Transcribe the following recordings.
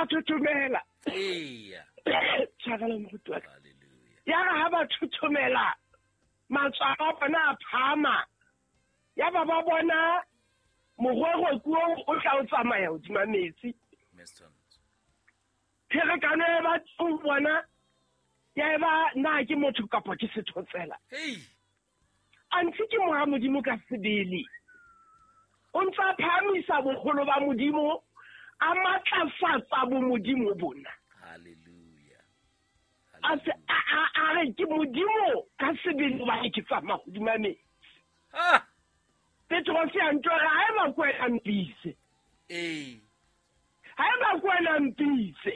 Ba thothomela. Eya. Tshwarelo moruti wa ka. Hallelujah. Ya re ha ba thothomela, matswalo a bona a phahama. Ya ba ba bona morwerweku oo o tla o tsamaya hodima metsi. Mr. Pherekano e ba teng bona ya eba na ke motho kapa ke sethotsela. Hey. Anthe ke mora Modimo ka sebele. O ntse a phahamisa boholo ba Modimo, a matlafatsa bomodimo bona. Hallelujah. A se a re ke Modimo ka sebele hobane ke tsamaya hodima metsi. Ha. Petrose a ntho re ha eba ke wena mpitse. Ee. Ha eba ke wena mpitse.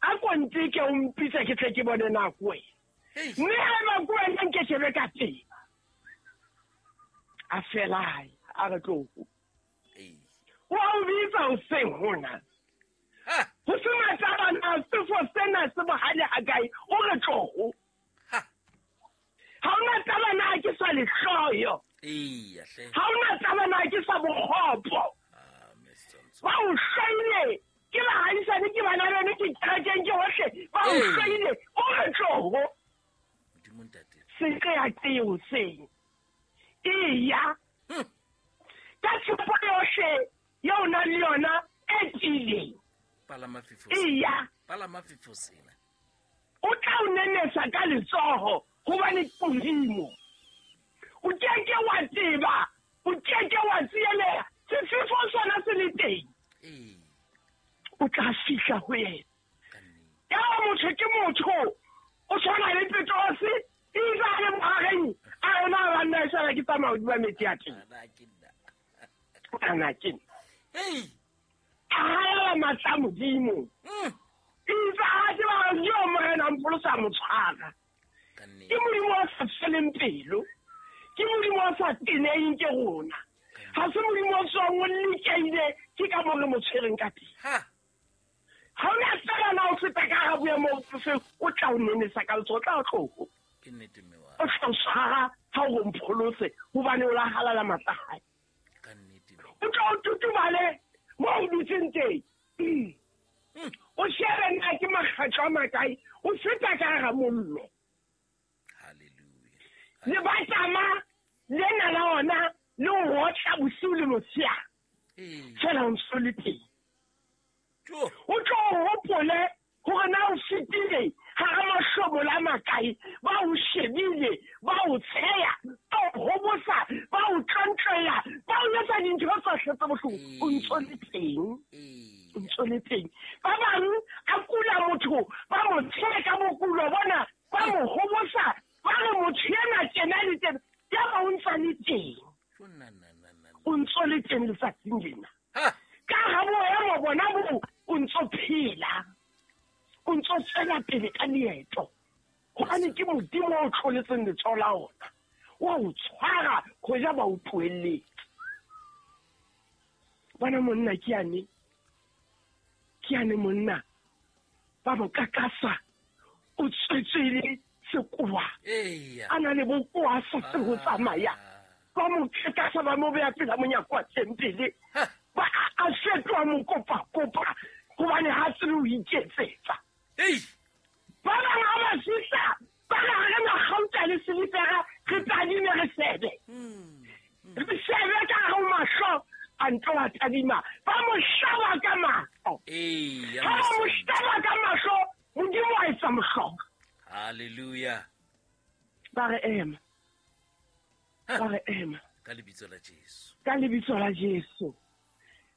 A ko nteke o mpitse ke tle ke bone na ke wena. Hey. Mme ha eba ke wena nke shebe ka teng. A fela hae, a re tlo. Ee. O a o bitsa hoseng hona. Ha. Ho se matabana, sefo sena se bohale ha kae, o re tloho. Ha. Ha ona taba na ke sa lehloyo. Eya hle. Ha ona taba na ke sa bokgopo. Ah, Mr. Ba o hloile, ke bahaisane, ke bana beno, ke kerekeng, ke hohle. Ba o Ee. hloile, o re tloho. Modimo ntate. Se qeaqeo hoseng. Eya. Ka tshepo yohle eo o nang le yona e tiileng. Palama fefo. Eya. Palama fefo sena. O tla o nenesa ka letsoho hobane ke Modimo. O keke wa tseba, o keke wa tsieleha, sefefo sona se le teng. Ee. O tla fihla ho yena. Ka nnete. Yaba motho ke motho, o tshwana le Petrose, itse a le bohareng, a re na banna e sala ke tsamaya hodima metsi a teng. Ana ke nna. Ana ke nna. Hey. A halala matla a Modimo. Itse a tseba hore yo Morena a mpholosa a mo tshwara. Ka nnete. Ke Modimo o sa feleng pelo. Ke Modimo o sa teneheng ke rona. Ha se Modimo o tswang o lekehile ke ka moo re mo tshwereng ka teng. Ha. Ha o na tseba na o feta ka hara boemo bofe, o tla o nenesa ka letsoho, o tla o tloho. Ke nnete mme wa. O tla o tshwara ha o re o mpholose, hobane o la halala matla a hae. Ka nnete. O tla o tutubale moo o dutseng teng. O shebe na ke makgetlo a makae, o feta ka hara mollo. Hallelujah. Lebatama lena la ona le o otla bosiu le motshehare. Ee. Feela o ntso le teng. Jo. O tlo o hopole hore na o fetile hara mahlomola a makae, ba o shebile, ba o tsheya, ba o hobosa, ba o tlontlolla, ba o etsa dintho tsohle tse bohloko. O ntso le teng. Ee. O ntso le teng. Ba bang a kula motho, ba mo tsheya ka bokulo bona, ba mo hobosa, ba re motho ena tjena le tjena, yaba o ntsa le teng. Jo na na na na. O ntso le teng letsatsing lena. Ha. Ka ha boemo bona bo o ntso phela. O ntso tswela pele ka leeto. Hobane ke Modimo o tloletseng letsoho la ona. Wa o tshwara hoja ba o tlohelletse. Bona monna ke yane. Ke yane monna. Ba mo kakasa. O tswetswe sekowa. Eya. A na le bokowa sa se ho tsamaya. Ba mo kakasa ba mo beha pela monyako wa tempele. Ha. Ba a fetoha mokopakopa hobane ha tsebe ho iketsetsa. Hey. Ba bang ha ba fihla, ba re ha re na kgauta le silifera, re tadime re shebe. Re shebe ka hare ho mahlo, a nto a tadima. Ba mo hlaba ka mahlo. Eya. Ha ba mo hlaba ka mahlo, Modimo a etsa mohlolo. Hallelujah. Ba re ema. Ba re ema. Ka lebitso la Jesu. Ka lebitso la Jesu.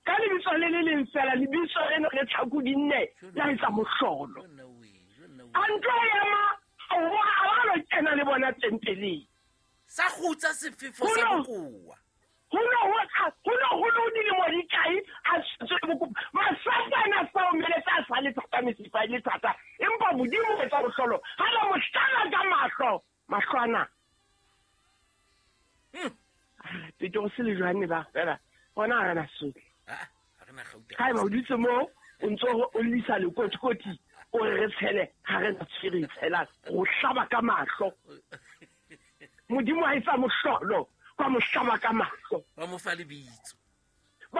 Ka lebitso le le leng fela, lebitso lena le tlhaku di nne, la etsa mohlolo. Jo nna we, jo nna we. A nto ema, a ba lo kena le bona tempeleng. Sa kgutsa sefefo sa Ho no. bokowa. Ho no ho no dilemo di kae a tshwetswe le bokopo. Masapo ana a sa omeletse, a sa le thata, mesifa e le thata. Empa Modimo o etsa mohlolo. Ha ba mo hlaba ka mahlo, mahlo ana. Petrose le Johanne ba fela, hona ha re na sohle. Ah, ha re na kgauta. Haeba o dutse moo, o ntso o llisa lekotikoti, o re re tshele, ha re na tshwere tshela, o hlaba ka mahlo. Modimo ha etsa mohlolo, ba mo hlaba ka mahlo. Ba mo fa lebitso.